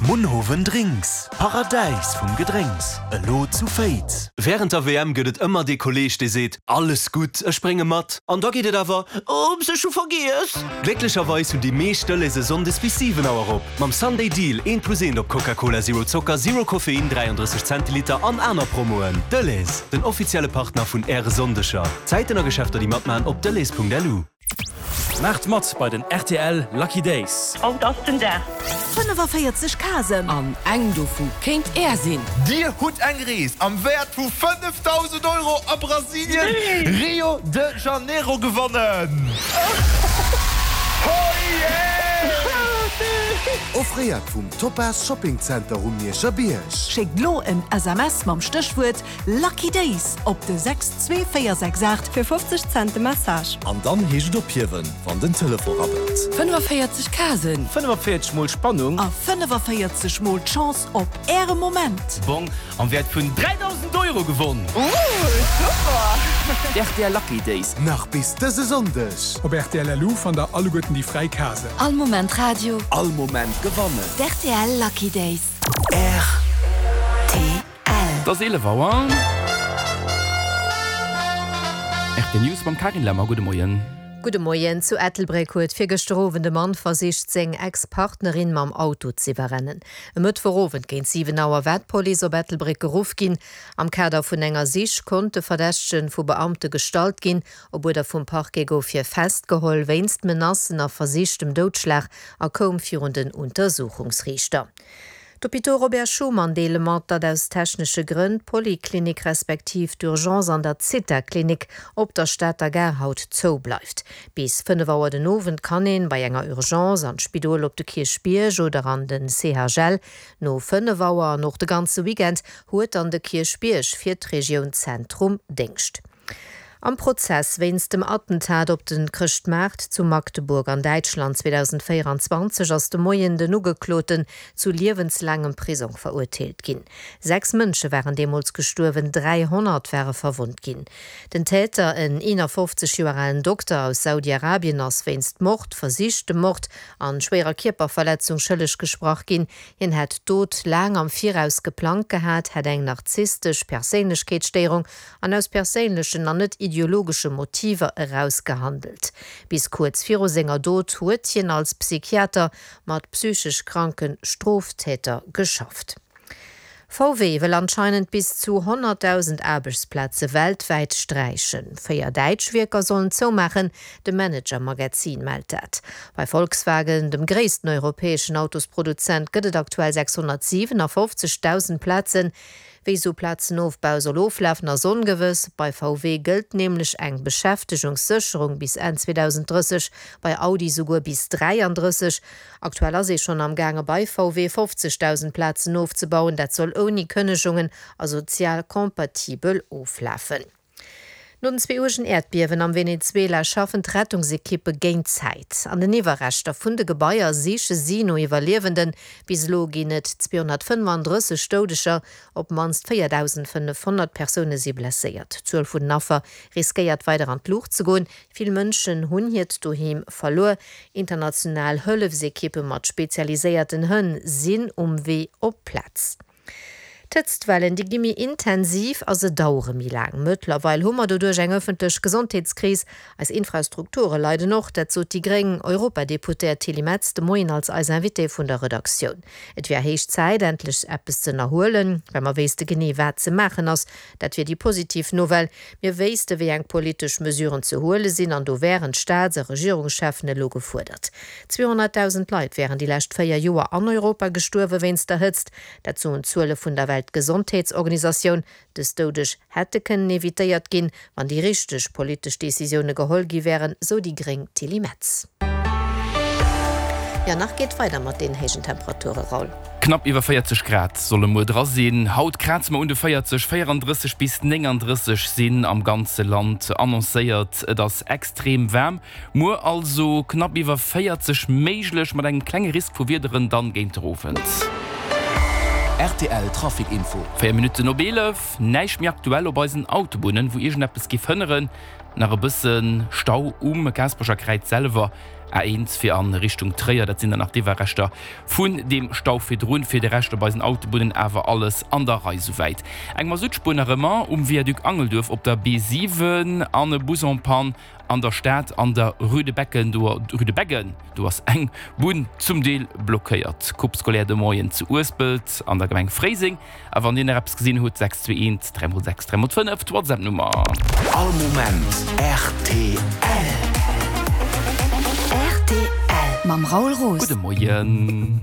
Munhowen Drinks, Paradäis vum Gedrénks, elo zu Féiz. Wärend der WM gëtt et ëmmer dee Kolleeg, dee seet, Alles gutt, ech brénge mat. An da geet et awer, Oops, ech hu vergiess. Glécklecherweis hunn déi meescht Delhaize sonndes bis 7 Auer op. Mam Sunday Deal, eent plus eent op Coca-Cola Zero Zocker, Zero Koffein, 33 Zentiliter an aner Promoen. Delhaize, den offizielle Partner vun Äre Sonndeger. Zäiten a Geschäfter déi matmachen op delhaize.lu. Maacht mat bei den rtl Lucky Days! Haut ass den Dag! 45 Casen. An eng dovu kéint Är sinn. Dir hutt eng Rees am Wäert vu 5.000 Euro a Brasilien, Rio de Janeiro gewonnen! Offréiert vum Topaz Shopping Center um Mierscher Bierg. Schéckt lo en SMS mam Stéchwuert Lucky Days op de 62468. Fir 50 Cent de Message. An dann heescht et ophiewen, wann den Telefon rabbelt. 45 Casen. 45 mol Spannung. A 45 mol d'Chance op Äre Moment. Bong am Wäert vun 3.000 Euro gewonn! Ooh, super! D'RTL Lucky Days. Nach bis dëse Sonndeg. Op rtl.lu fannt der alleguerten déi fräi Casen. All Moment Radio. All Moment gewannen. D'RTL Lucky Days. RTL. Et ass 11 Auer. RT News mam Karin Lemmer. Gudde Moien. Gudde Moien. Zu Ettelbréck huet virgëschter Owend e Mann versicht, seng Ex-Partnerin mam Auto z'iwwerrennen. E Mëttwochowend géint 7 Auer war d'Police op Ettelbréck geruff ginn. Am Kader vun enger Sich konnt de Verdächtege vu Beamte gestallt ginn. Op Uerder vum Parquet gouf hie festgeholl wéinst Menacen a versichtem Doudschlag a koum virun den Untersuchungsriichter. D'Hôpitaux Robert Schuman deele mat, datt aus technesche Grënn d'Poliklinik respektiv d'Urgence an der Zitha-Klinik op der Stater Gare haut zou bleift. Bis 5 Auer den Owend kann een bei enger Urgence an d'Spidol op de Kierchbierg oder an den CHL. No 5 Auer an och de ganze Weekend huet dann de Kierchbierg fir d'Regioun Zentrum Déngscht. Am Prozess wéinst dem Attentat op de Chrëschtmaart zu Magdeburg an Däitschland 2024 ass de Moien den Ugekloten zu liewenslaangem Prisong verurteelt ginn. 6 Mënsche waren deemools gestuerwen, 300 ware verwonnt ginn. Den Täter, en 51 Joer alen Dokter aus Saudi-Arabien, ass wéinst Mord, versichtem Mord an schwéierer Kierperverletzung schëlleg gesprach ginn. Hien hätt d'Dot laang am Viraus geplangt gehat, hätt eng narzisstesch Perséinlechkeetsstéierung an aus perséinlechen an net ideologesche Motiver eraus gehandelt. Bis kuerz viru senger Dot huet hien als Psychiater mat psychesch kranke Stroftäter geschafft. VW wëll anscheinend bis zu 100.000 Aarbechtsplaze weltwäit sträichen. 4 däitsch Wierker sollen zoumaachen, de Manager Magazin mellt dat. Bei Volkswagen, dem gréissten europäeschen Autosproduzent, gëtt et aktuell 657.000 Plazen. Wéi esou Plazenofbau soll oflafen, ass ongewëss. Bei VW gëllt nämlech eng Beschäftegungssécherung bis Enn 2030, bei Audi souguer bis 33. Aktuell ass ee schonn am gaange bei VW 50.000 Plazen ofzebauen. Dat soll ouni Kënnegungen a sozial kompatibel oflafen. No den zwee uergen Äerdbiewen am Venezuela schaffen d'Rettungsekippe géint d'Zäit. An den Iwwerreschter vun de Gebaier siche si no Iwwerliewenden. Bis elo ginn et 235 Doudeger, op d'mannst 4.500 Persoune si blesséiert. D'Zuel vun den Affer riskéiert weider an d'Luucht ze goen. Vill Mënschen hunn hiert Doheem verluer. International Hëllefsekippe mat spezialiséierten Hënn sinn um Wee op d'Plaz. D'Hëtztwellen, déi gi méi intensiv a se dauere méi laang. Mëttlerweil hu mer doduerch eng ëffentlech Gesondheetskris. Eis Infrastrukture leiden och. Dat sot déi gréng Europadeputéiert Tilly Metz de Moien als eis Invitée vun der Redaktioun. Et wär héich Zäit, endlech eppes ze ënnerhuelen, well mer wéisste genee, wat ze maachen ass. Dat wier déi positiv Nouvelle. Mir wéisste wéi eng politesch Mesuren ze huele sinn an do wären d'Staats a Regierungscheffen elo gefuerdert. 200.000 Leit wären déi lescht 4 Joer an Europa gestuerwe wéinst der Hëtzt. Dat soen d'Zuele vun der Weltgesondheetsorganisatioun. Dës Doudeg hätte kënnen evitéiert ginn, wann déi richteg politesch Decisioune geholl gi wären, sou déi gréng Tilly Metz. Jo, nach geet weider mat den héijen Temperature, Raoul. Knapp iwwer 40 Grad solle muer dra sinn. Haut kraze mer un de 40, 34 bis 39 sinn am ganze Land annoncéiert. Et ass extrem waarm. Muer also knapp iwwer 40 méiglech, mat engem klenge Risk vu Wiederen dann géint de Owend. Rtl Trafic Info. 4 Minutten op 11, Näischt méi aktuell op eisen Autobunnen, wou iergendeppes géif hënneren. Nach e bësse Stau um Gaasperecher Kräiz selwer. A1 fir a Richtung Tréier. Dat sinn dann nach d'Iwwerreschter vun deem Stau virdrun. Fir de Rescht op eisen Autobunnen awer alles an der Rei souwäit. Eng Masuttspuer nach ëmmer um Viaduc Angelduerf op der B7 an e Bus en panne an der Stad an der Rue de Becken, do Rue de Beggen, do ass eng Bunn zum Deel blockéiert. Coupe scolaire de Moien zu Uespelt an der Gemeng Fréiseng. A wann dir nach eppes gesinn hutt, 621 3 x 6 3 x 5, d'Whatsapp Nummer. All Moment rtl. Rtl mam Raoul Roos. Gudde Moien.